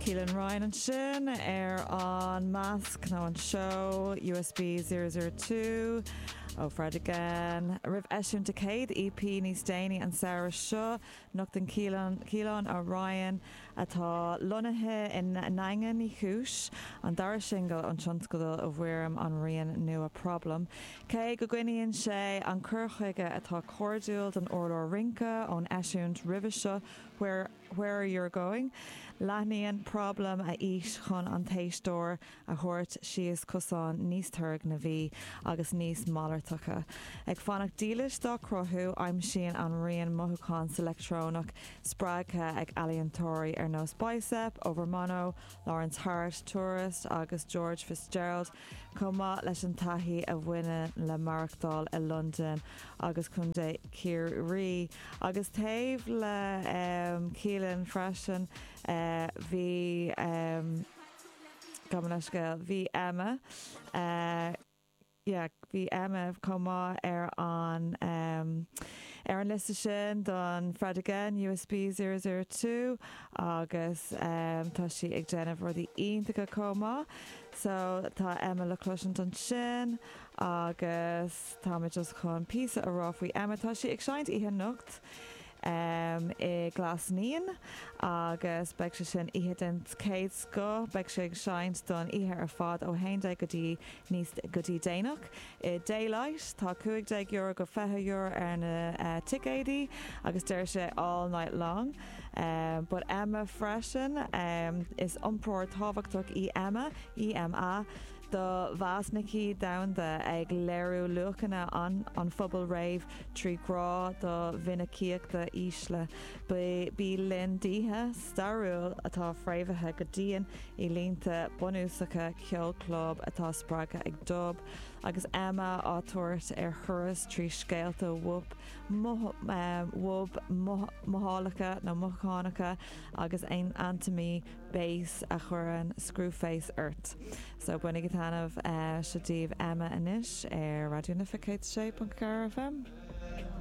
Keelan Ryan ansin ar an masc nó an seó USB 002 ó Fred Again. Roimh eisiúint a céad EP níos déanaí an samhradh seo, nochtann Keelan Ryan, atá lonnaithe i nDaingean Uí Chúis, an dara singil ón tionscadal i bhfoirm an rian nua Problem. Cé go gcoinníonn sé an cur chuige atá cairdiúil don urlár rince ón eisiúint roimhe seo, Where. Where You're Going. Leathnaíonn Problem a fhís chun an t-éisteoir a thabhairt síos cosán níos turgnamhaí agus níos malartacha. Ag fanacht dílis dá cruthú, aimsíonn an rian mothúchán sa leictreonach spreagtha ag ealaíontóirí ar nós Bicep, Overmono, Lawrence Hart, Tourist agus George Fitzgerald, chomh maith leis an taithí a bhaineann le maireachtáil i Londain agus Contae Chiarraí. Agus taobh le Keelan freisin bhí, gabh mo leithscéal, bhí Emma, yeah, bhí Emma chomh maith ar an ar an liosta sin don Fred Again USB 002 agus tá sí ag déanamh rudaí iontacha chomh maith. So tá Emma le cloisint ansin agus tá mé just chun píosa a rá faoi Emma. Tá sí ag seinnt oíche anocht i nGlas Naíon agus beidh sé sin oíche den chéad scoth. Beidh sí ag seinnt don oíche ar fad ó 11 go dtí níos go dtí déanach. I Daylight tá €15 go €20 ar na ticéidí agus deir sé all night long. But Emma freisin, is iompróir tábhachtach í Emma, EMA, do mheascthaí domhanda, ag léiriú luachanna an phobail rave trí ghrá do mhinicíochtaí ísle. Bí linn d'oíche stairiúil atá fréamhaithe go dian i línte bunúsacha ceol club atá spreagtha ag dub, agus Emma á tabhairt ar thuras trí scéalta wub wub mothálacha nó mothúchánacha agus antaimí bass a chuireann screwface ort. So bainigí taitneamh, seo daoibh Emma anois ar Raidió na Life 106.4 FM.